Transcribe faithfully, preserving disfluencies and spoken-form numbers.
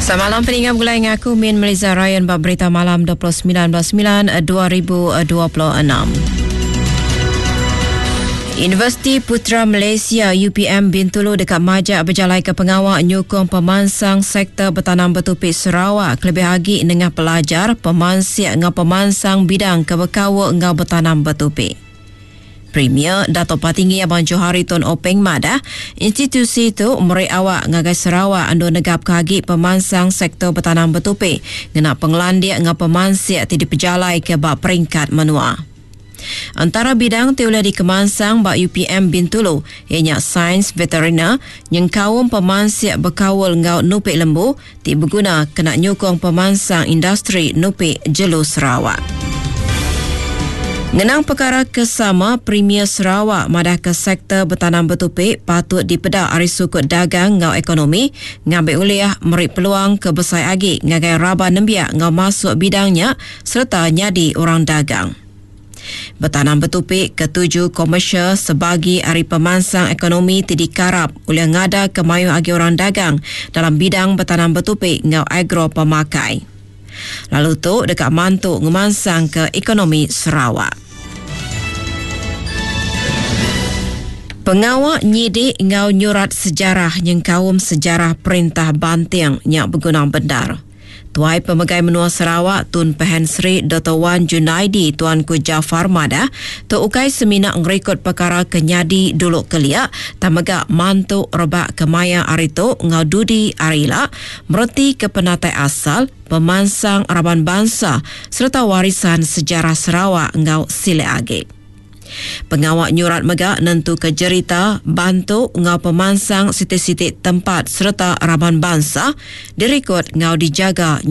Semalam peninga mulai ngaku Min Melisa Ryan bab berita malam dua puluh sembilan bulan sembilan dua ribu dua puluh enam. Universiti Putra Malaysia U P M Bintulu dekat majak berjalai ke pengawak nyukung pemansang sektor bertanam bertupik Sarawak kelebih agi nengah pelajar pemansik ngau pemansang bidang kebekawa ngau bertanam bertupik. Premier Dato' Patinggi Abang Johari Tun Openg madah, institusi itu meri awak ngagai Sarawak ando negap kagi pemansang sektor bertanam bertupik ngena pengelandik ngau pemansik ti dipejalai ke bak peringkat menua. Antara bidang ti ulih dikemansang bak U P M Bintulu ianya sains veteriner nyengkaum pemansik berkaul ngau nupik lembu ti berguna kena nyukung pemansang industri nupik jelu Sarawak. Ngenang perkara kesama, Premier Sarawak madah ke sektor bertanam bertupik patut dipedak ari sukut dagang ngau ekonomi ngambil uliah meri peluang ke besai agi ngagai raban nembiak ngau masuk bidangnya serta nyadi orang dagang. Bertanam bertupik ketujuh komersial sebagi ari pemansang ekonomi ti dikarap oleh ngada ke mayu agi orang dagang dalam bidang bertanam bertupik ngau agro pemakai. Lalu tu dekat mantu ngemansang ke ekonomi Sarawak. Pengawak nyidik ngau nyurat sejarah nyengkaum sejarah perintah Banting nyak berguna bendar. Tuai Pemegai Menua Sarawak Tun Pehin Sri Doktor Wan Junaidi Tuanku Jaafar madah tu ukai semina ngerekod perkara kenyadi dulu keliak tamega mantu rebak kemaya ari tu ngau dudi ari ila mereti ke penatai asal pemansang raban bangsa serta warisan sejarah Sarawak ngau silek agi. Pengawak nyurat mega nentu ke jerita bantu ngau pemansang siti-siti tempat serta raban bangsa direkod ngau dijaga